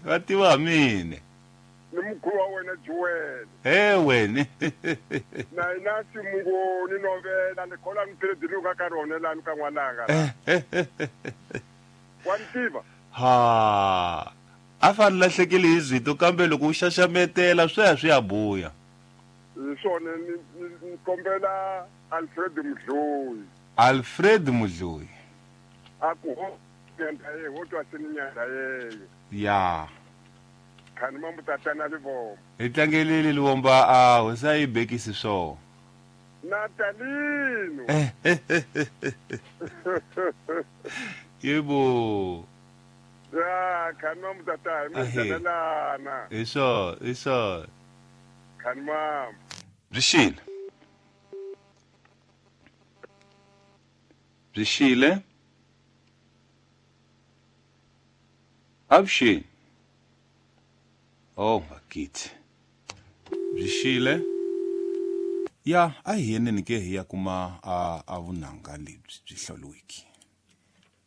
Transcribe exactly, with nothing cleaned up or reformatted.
Va tiva mina. Ni mkhulu wa wena Joel. He wena. Na ina simungoni novela ni khola ni phele ka rona la ka n'wananga. Wa ntiva? Ha. A fa lahlekele hi zwito kambe loko u xaxametela swi ya swi ya buya. Hi swona ni kombela Alfred Mudloyi. Alfred Mudloyi. A ku ho nyanda ye ho twa sini nyanda ye. Ya. Khani mambu tatana Livomba. Hi tlangelele Livomba a hosa yi bekisi swo. Natalino. Yebo. Ya khani mambu tata mi tsalelana. Hi swo, hi swo. Khani mambu. Byi xile. Byi xile. Avuxeni. Oh, makiti. Byi xile. Ya, a hi yeneni ke hi ya kuma a a vunanga lebyi byi hlawuriweke.